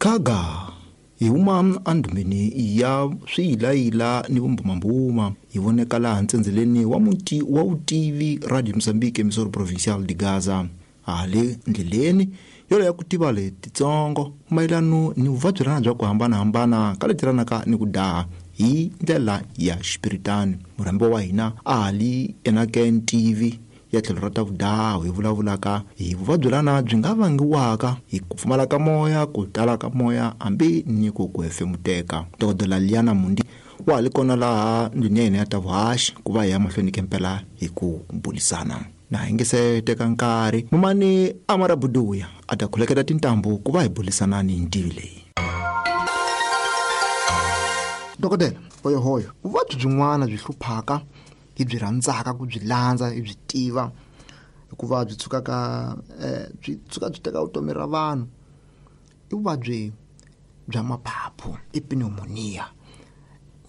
Khaga hi huma endhumeni ya swiyilayila ni vumbumambuma hi voneka laha ntsendzeleni wa muti wa vutivi Radio Mozambique Emissora Provincial de Gaza hale ndleleni yoleyo ya ku tiva letitsongo mayelano ni vuvabyelana bya ku hambanahambana ka letiranaka ni ku daha hi ndlela ya xipiritani. Murhambiwa wa hina a ha li enake ntivi ya tlhelo ra ta vudaho hi vulavulaka hi vuvabyelana byi nga vangiwaka hi ku pfumala ka moya, ku tala ka moya hambi ni ku ku hefemuteka. Dokodela Liana Mundi wa ha li kona laha ndlwini ya hina ya ta vuhaxi ku va hi ya mahlweni kempela hi ku bulisana. Na hi nge se teka nkarhi mumani Amara Buduya a ta khuleketa tintambu ku va hi bulisana ni ntivi leyi. Dokodela hoyohoyo, vuvabyi byin'wana byi hluphaka hi byi rhandzaka ku byi landza hi byi tiva hikuva byi tshukaka byi tshuka byi teka vutomi ra vanhu i vuvabyi bya maphaphu i pneumonia.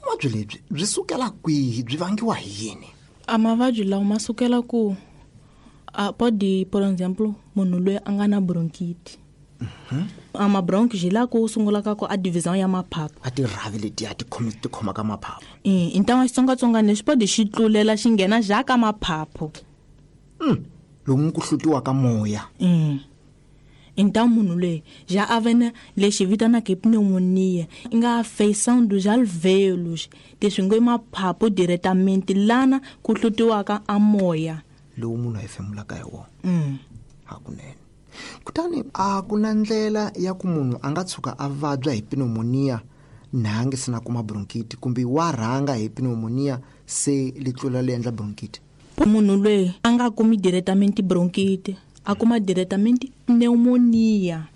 Vuvabyi lebyi byi sukela kwihi, byi vangiwa hi yini? A mavabyi lawa ma sukela ku a podi, por exemple, munhu loyi a nga na bronchite. A ma bronch xi la ku sungula ka ku a division ya maphaphu. A tirhavi letiya ti khomi ti khoma ka maphaphu. I ntangwa xitsongwatsongwana lexi podi xi tlulela xi nghena ja ka maphaphu. Lomu ku hlutiwa ka moya. I nta munhu loyi ja a ve na lexi vitanaka hi pneumonia i nga feição dos alvéolos, leswi ngo i maphaphu directamente lana ku hlutiwaka a moya lowu munhu a hefemulaka hi wona. Hakunene. Kutani a ku na ndlela ya ku munhu a nga tshuka a vabya hi pneumonia na a nge se na kuma bronchite, kumbe wa rhanga hi pneumonia se li tlula li endla bronchite? Munhu loyi a nga kumi directamente bronchite, a kuma directamente pneumonia.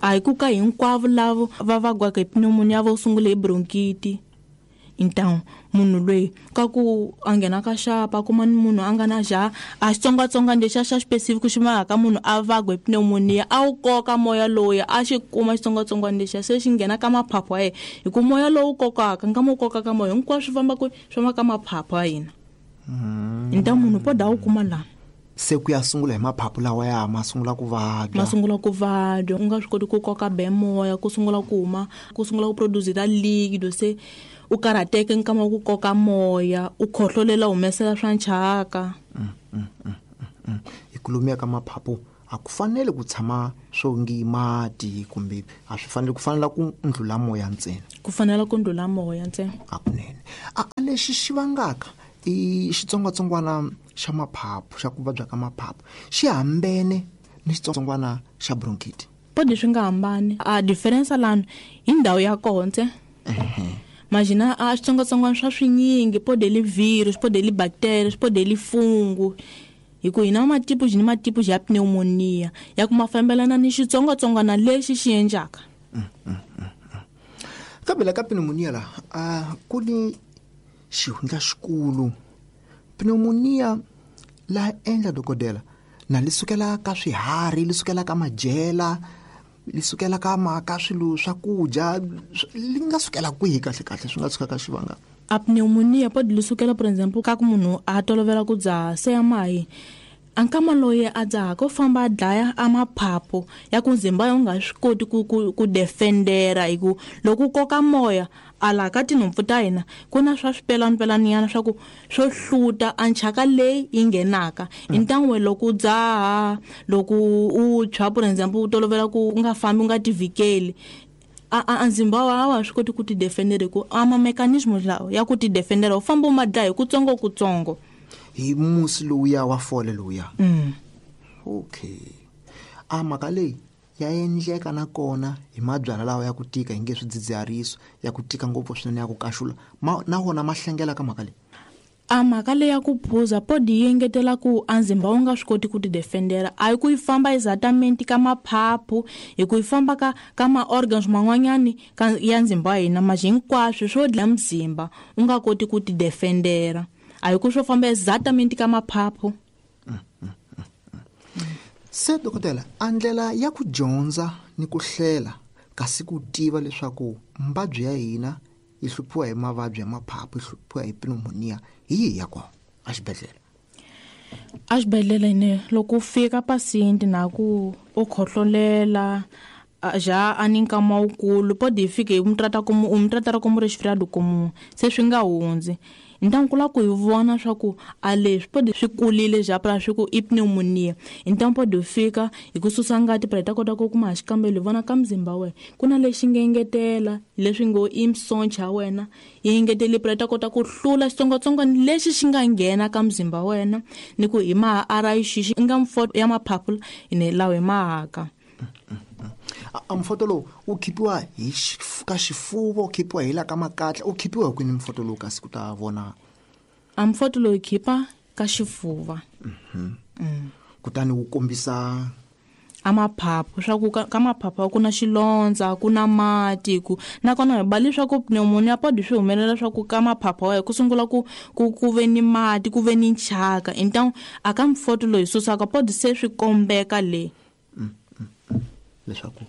A hi ku ka hinkwavo lavo va vabyaka hi pneumonia vo sungula hi bronchite. Então munhu loyi ka ku a nghena ka xapa a kuma ni munhu a nga na ja a xitsongwatsongwana lexiya xa specific xi vangaka munhu a vabya hi pneumonia, a wu koka moya lowuya a xi kuma xitsongwatsongwana lexiya se xi nghena ka maphaphu ya yena, hi ku moya lowu kokaka nkama wu kokaka moya hinkwaswo swi famba kwihi? Swi famba ka maphaphu ya hina. Então munhu po da wu kuma laha se ku ya sungula hi maphaphu lawa ya ma sungula ku vabya. Ma sungula ku vabya, u nga swi koti ku koka be moya, ku sungula ku huma, ku sungula ku produce ta liquido, se u karhateke nkama wa ku koka moya, u khohlolela humesela swa nchaka. Hi ku lumiya ka maphaphu a ku fanele ku tshama swo ngi mati, kumbe a swi fanele ku fanela ku ndlula moya ntsena. Ku fanela ku ndlula moya ntsena. Hakunene. A lexi xi vangaka i xitsongwatsongwana xa maphaphu, xa ku vabya ka maphaphu, xi hambene ni xitsongwatsongwana xa bronchite? Podi swi nga hambani. A difference lano hi ndhawu ya koho ntsena. Imagina a xitsongwatsongwana swa swinyingi, podi li virus, podi li bacteria, podi li fungu. Hi ku hina matipu ni matipu ya pneumonia ya ku ma fambelana ni xitsongwatsongwana lexi xi endlaka. Kambe la ka pneumonia la a ku ni xihundla xikulu. Pneumonia la endla dokodela na li sukela ka swiharhi, li sukela ka madyela, li sukela ka maka swilo swa ku dya, li nga sukela kwihi kahle kahle swi nga tshuka ka xivanga? A pneumonia podi li sukela por exemple ka ku munhu a tolovela ku dzaha se ya mahi. A nkama loyi a dzaha ko famba a dlaya a maphaphu ya ku ndzimba ya u nga swi koti ku defendera, hi ku loko u koka moya a laha ka tinhompfu ta hina ku na swa swipelanipelaninyana swa ku swo hluta a nchaka leyi yi nghenaka. Hi ntangwe loko u dzaha, loko u tshwa por exemple u tolovela ku u nga fambi u nga tivhikeli, a ndzimba wa a wa ha swi koti ku ti defendera, hi ku a ma mechanism lawa ya ku ti defendera u famba u ma dlaya hi kutsongo kutsongo. Hi musi lowuya wa fole lowuya. Okay. A mhaka leyi ya endleka nakona hi mabyalwa lawa ya ku tika hi nge swidzidziharisi, ya ku tika ngopfu swinene ya ku kaxula, na wona ma hlengela ka mhaka leyi. A mhaka leyi ya ku phuza podi yi engetela ku a ndzimba wu nga swi koti ku ti defendera, a hi ku yi famba exactamente ka maphaphu, hi ku yi famba ka ma organs man'wanyani ka ya ndzimba wa hina, ma hinkwaswo swo dlaya mzimba u nga koti ku ti defendera, a hi ku swo famba exactamente ka maphaphu. Se dokodela, a ndlela ya ku dyondza ni ku hlela kasi ku tiva leswaku mbabyi ya hina yi hluphiwa hi mavabyi ya maphaphu, yi hluphiwa hi pneumonia, hi yihi ya kona a xibedhlele? A xibedhlele ne loko u fika patient na ku u khohlolela Já a ni nkama wukulu pode hi fike hi mu trata como u mu tratara como resfriado comum se swi nga hundzi. Então ku lava ku hi vona swa ku a leswi pode swi kulile já pra swi ku i pneumonia. Então pode fika hi ku susa ngati pra hi ta kota ku kuma xikambelo hi vona ka mzimba wa wena ku na lexi nga engetela leswi ngo i msoncha ya wena yi engetele pra hi ta kota ku hlula xitsongwatsongwana lexi xi nga nghena ka mzimba wa wena ni ku hi maha RIX i nga mfoto ya maphaphu ine lawa hi mahaka. A mfoto lowu wu khipiwa hi ka xifuva, wu khipiwa hi la ka makatla, wu khipiwa hi kwini mfoto lowu kasi ku ta vona? A mfoto lowu khipa ka xifuva. Kutani wu kombisa a maphaphu swa ku ka maphaphu ku na xilondza, ku na mati, ku nakona hi ba leswaku pneumonia podi swi humelela swa ku ka maphaphu wa ku sungula ku ku ku ve ni mati, ku ve ni nchaka. Então a ka mfoto loyi susaka podi se swi kombeka le leswaku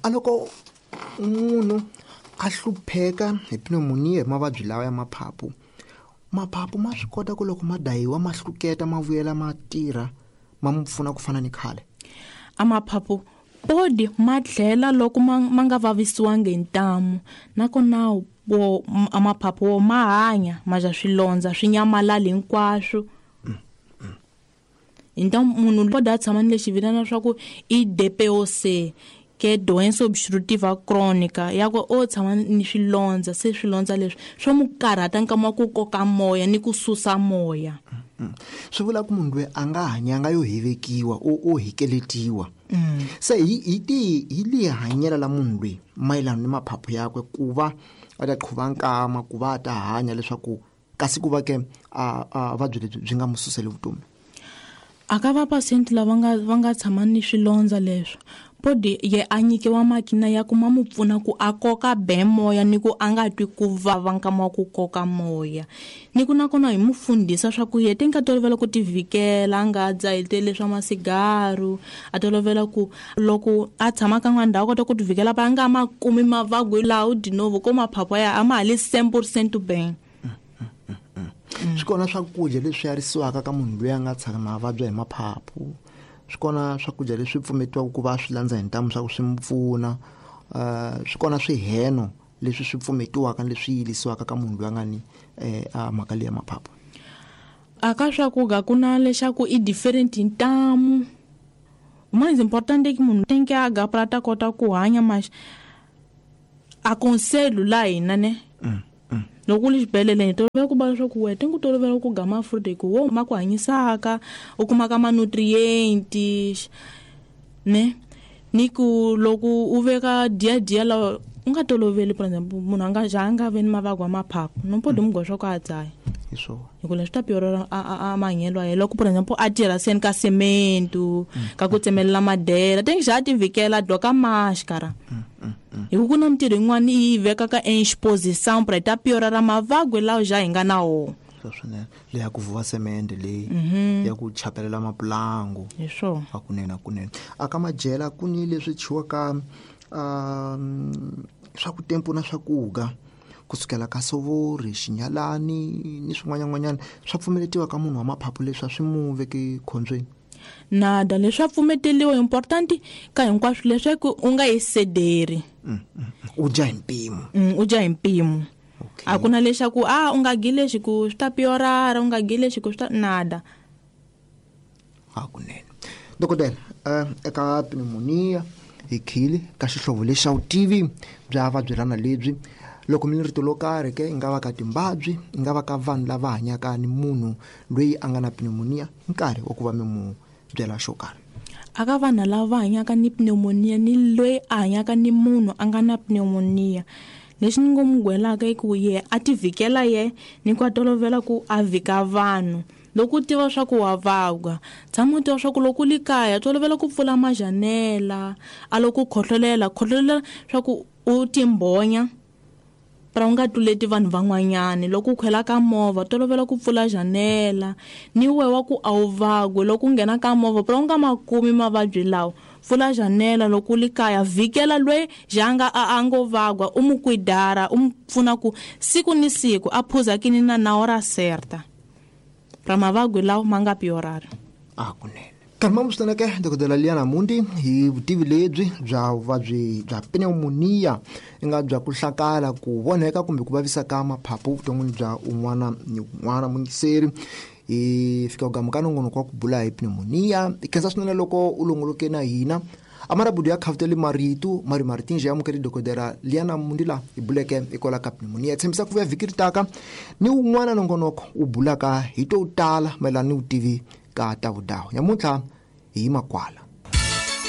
a loko munhu a hlupheka hi pneumonia hi mavabyi lawa ya maphaphu, maphaphu ma swi kota ku loko ma dayiwa ma hluketa ma vuyela ma tirha ma mu pfuna ku fana ni khale? A maphaphu podi ma tlhela loko ma nga vavisiwangi hi ntamu, nakona wo a maphaphu wo ma hanya ma ja swilondza swi nyamalali hinkwaswo. Então munhu pode a tshama ni lexi vitana swa ku i DPOC, ke doença obstrutiva crônica, ya ku o tshama ni swilondza, se swilondza leswi swo mu karhata nkama wa ku koka moya ni ku susa moya. Swi vula ku munhu loyi a nga hanyanga yo hevekiwa, o hikeletiwa. Se hi ti hi li hanyela la munhu loyi mayelana ni maphaphu yakwe ku va a ta qhuva nkama, ku va a ta hanya leswaku kasi ku va ke a vuvabyi lebyi byi nga mu suseli vutomi. A ka va patient lava va nga tshama ni swilondza leswo podi ye a nyikiwa makina ya ku ma mu pfuna ku a koka be moya ni ku a nga twi ku vava nkama wa ku koka moya. Ni ku nakona hi mu fundisa swa ku ye te nga tolovela ku tivikela, a nga dzahiteli swa masigaru, a tolovela ku loko a tshama ka n'wana ndhawu a kota ku tivikela va nga ma kumi mavabyi lawo de novo ko maphaphu ya a ma ha li cent pour cent bem. Swi kona swakudya leswi yarisiwaka ka munhu loyi a nga tshama a vabya hi maphaphu, swi kona swakudya leswi pfumetiwaka ku va swi landza hi ntamu swa ku swi mu pfuna, swi kona swiheno leswi swi pfumetiwaka leswi yilisiwaka ka munhu loyi a nga ni a mhaka leyi ya maphaphu. A ka swakudya ku na leswaku i different hi ntamu. Mais importante é que munhu tem que agarrar pra ta kota ku hanya, mas aconselho la hina ne. Loko u li xibedhlele hi tolovela ku va leswaku wena ti ku tolovela ku ga mafruit hi ku wo ma ku hanyisaka, u kumaka ma-nutrients ne. Ni ku loko u veka dia dia lawa u nga toloveli, por exemple munhu a nga ja a nga vi ni mavabyi ya maphaphu, no podi mu goxa ku a dzaya. Hi swona. Hi ku leswi ta piorora a mahanyelo ya yena. Loko por exemple a tirha seni ka cemento, ka ku tsemelela madela, te ngi xa a ti vhikela a dloka máscara. Hi ku ku na mintirho yin'wana yi vekaka exposição pra ta piorara mavabyi lawa ja hi nga na wona. Swa swinene. Leyi ya ku vuva semende leyi, ya ku chapelela mapulangu. Hi swona. Hakunene, hakunene. A ka madyela ku ni leswi tshwiwaka, swa ku tempu na swakudya kusukela ka sovori, xinyalani ni swin'wanyan'wanyana swa pfumeletiwa ka munhu wa maphaphu leswi a swi mu veki khombyeni? Nada, leswi a pfumeteliwa important ka hinkwaswo leswaku u nga yi sederi. U dya hi mpimo. U dya hi mpimo. A ku na leswaku a u nga gi lexi ku swi ta piorara, u nga gi lexi ku swi ta nada. Hakunene. Dokodela, eka pneumonia hi khile ka xihlovo lexi xa vutivi bya vabyelana lebyi, loko mi ni rito lo karhi ke yi nga va ka timbabyi, yi nga va ka vanhu lava hanyaka ni munhu loyi a nga na pneumonia, nkarhi wa ku va mi mu byela xo karhi. A ka vanhu lava va hanyaka ni pneumonia ni loyi a hanyaka ni munhu a nga na pneumonia, lexi ni ngo mu gwelaka i ku ye a ti vhikela ye ni ku a tolovela ku a vhika vanhu. Loko u tiva swa ku wa vabya, tshama u tiva swa ku loko u li kaya tolovela ku pfula majanela, a loko u khohlolela, khohlolela swa ku u timbhonya pra u nga tluleti vanhu van'wanyani. Loko u khwela ka movha tolovela ku pfula janela, ni we wa ku a wu vabyi loko u nghena ka movha pra u nga ma kumi mavabyi lawa, pfula janela loko u li kaya, vhikela loyi janga a ngo vabya, u mu kwidara, u mu pfuna ku siku ni siku a phuza kinina na hora certa pra mavabyi lawa ma nga piorari. Hakunene. Karima swinene dokodela Liana Mundi hi vutivi lebyi bya vuvabyi bya pneumonia i nga bya ku hlakala ku vonheka kumbe ku vavisa ka maphaphu vuton'wini bya un'wana ni un'wana. Muyingiseri, hi fika ku gamuka nongonoko wa ku bula hi pneumonia. Hi khensa swinene loko u longoloke na hina. Amarabudu ya khavutele marito mari maritinje amukele dokodela Liana Mundi la hi buleke hikwalaho ka pneumonia. Tshembisa ku vuya vhiki ri taka ni wun'wana nongonoko wu bulaka hi to tala mayelana ni vutivi ka ta vudawu. Nyamuntlha hi yima kwala.